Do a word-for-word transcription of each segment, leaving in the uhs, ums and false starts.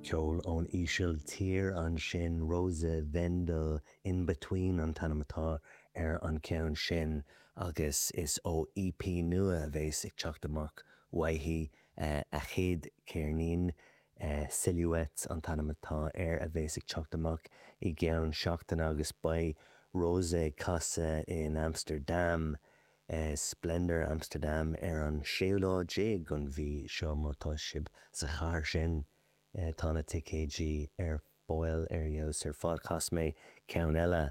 Ceol ón Ísiltír ansin Rosa Wendel in between an t-ainm atá ar an ceann sin agus is ó EP nua a bheas ag teacht amach uaithi a chéad cheirnín Silhouette an t-ainm atá air a bheas ag teacht amach i gceann seachtaine agus beidh Rosa ag casadh in Amsterdam Splendor Amsterdam ar an séú lá déag den mhí seo má tá sibh sa chathair sin tá na ticéidí ar fáil ar fheabhas ar fad chas mé ceann eile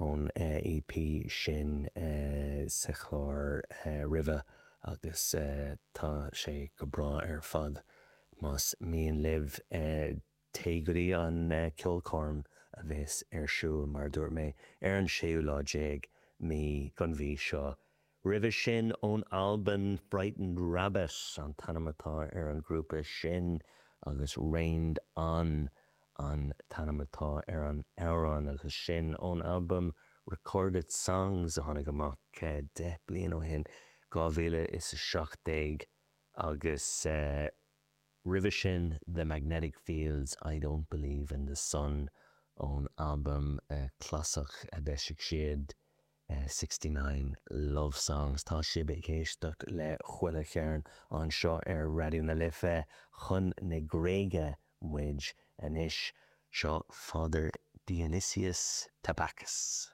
ón EP sin sa chlár roimhe agus tá sé go breá ar fad más mian libh téigh go dtí an ceolchoirm a bheas ar siúl mar dúirt mé ar an séú lá déag mí den mhí seo. Roimhe sin ón Albain Frightened Rabbit an t-ainm atá ar an grúpa sin agus Rained On an t-ainm atá ar an amhrán agus sin ón albam Recorded Songs a tháinig amach deich bliain ó shin dhá mhíle is a seacht déag agus roimhe sin The Magnetic Fields I Don't Believe in the Sun ón albam clasach a d'eisigh siad sixty nine Love Songs. Tá sibh ag éisteacht le Chuile Chearn anseo ar Raidió na Life chun na Gréige muid anois seo Father Dionysius Tabakis.